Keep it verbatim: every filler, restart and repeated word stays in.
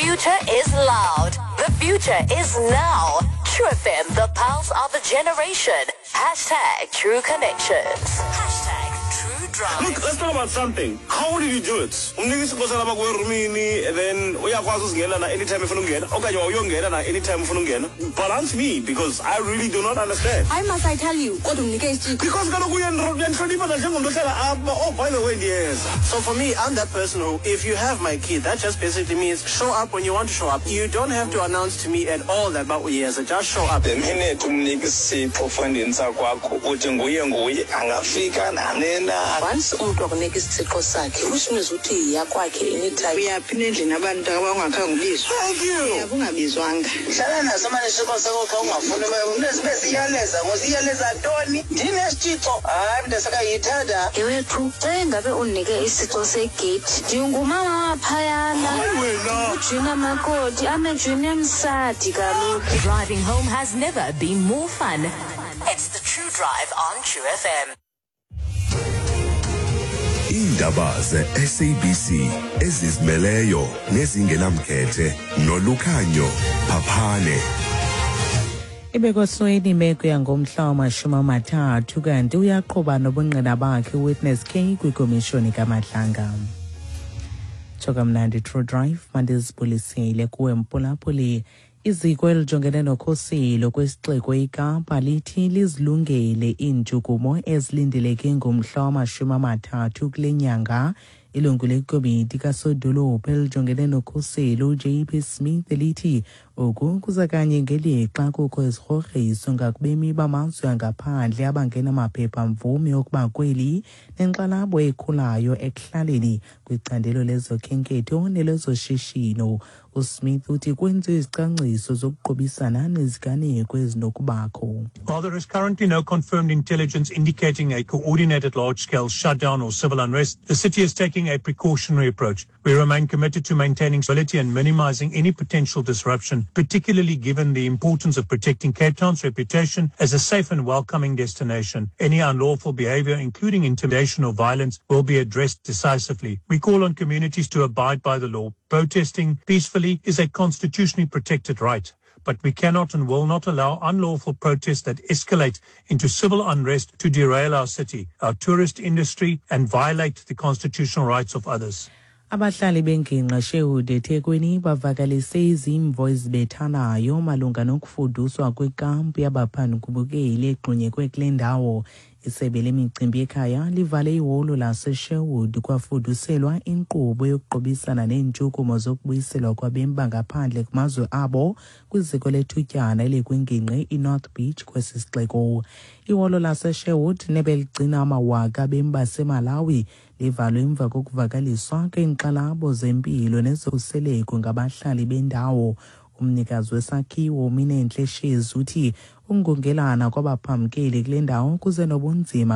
future is loud. The future is now. True F M, the pulse of a generation. Hashtag True Connections. Hashtag True Drive. Look, let's talk about something. How did you do it? Umnika isipho salapha kuwe erumini and then uyakwazi uzingena na anytime efuna ungena okanye wawuyongena na anytime ufuna ungena. Balance me, because I really do not understand. Why must I tell you? Kodwa umnike isitshixo. Because kaloku uyandihlonipha nanjengomntu ohlala apha. Oh, by the way, ndiyeza. So for me, I'm that person who, if you have my key, that just basically means show up when you want to show up. You don't have to announce to me at all that but yes, just show up. The minute umnika isipho fondini sakwakho, uthi nguye nguye angafika nanena. Once umntu akunika isitshixo sakhe, which means uthi yiya kwakhe anytime. Uyaphi nendlini abantu abangakhange ubizwa? Thank you. Uyaphi ungabizwanga? Hlala naso mane isitshixo sakho xa ungafuni sibe siyaleza ngosiyaleza ntoni ndinesitshixo hayi mntasakayithanda. Yewethu, xa engabe undinike isitshixo segeyithi, ndingumama waphayana. Hayi wena. Ujina makoti amejuni emsadi kaloku. Driving home has never been more fun. It's the True Drive on True F M. Iindaba ze-S A B C ezizimeleyo nezingenamkhethe noLukhanyo Phaphane. Ibekosweni imeko yangomhla wamashumi amathathu kanti uyaqhuba nobungqina bakhe Witness K kwikomishoni kaMadlanga. Tsho kamnandi, True Drive, mandizibulisele kuwe mphulaphuli. Iziko elijongene nokhuselo kwesixeko iKapa lithi lizilungele iintshukumo ezilindeleke ngomhla wamashumi amathathu kule nyanga. Ilungu lekomiti kasodolophu elijongene nokhuselo uJ P Smith lithi oku kuza kanye ngelixa kukho izigrogriso ngakubemi bamazwe angaphandle abangenamaphepha-mvume okuba kweli nenkxalabo ekhulayo ekuhlaleni kwicandelo lezokhenketho nelezoshishino. USmith uthi kwenziwe izicwangciso zokuqubisana neziganeko ezinokubakho. While there is currently no confirmed intelligence indicating a coordinated large-scale shutdown or civil unrest, the city is taking a precautionary approach. We remain committed to maintaining stability and minimizing any potential disruption, particularly given the importance of protecting Cape Town's reputation as a safe and welcoming destination. Any unlawful behavior, including intimidation or violence, will be addressed decisively. We call on communities to abide by the law. Protesting peacefully is a constitutionally protected right, but we cannot and will not allow unlawful protests that escalate into civil unrest to derail our city, our tourist industry, and violate the constitutional rights of others. Abahlali bengingqi Sherwood eThekwini bavakalise izimvo ezibethanayo malunga nokufuduswa kwekampu yabaphandukubukeli egxunyekwe kule ndawo. Isebe lemicimbi yekhaya livale iholo laseSherwood kwafuduselwa inkqubo yokuqubisana neentshukumo zokubuyiselwa kwabemi bangaphandle kumazwe abo kwiziko lethutyana elikwingingqi iNorth Beach kwesi sixeko. Iholo laseSherwood nebeligcina amawaka abemi baseMalawi livalwe emva kokuvakaliswa kweenkxalabo zempilo nezokhuseleko ngabahlali bendawo. Umnikazi wesakhiwo uMinenhle Shezi uthi ukungungelana kwabaphambukeli kule ndawo kuze nobunzima.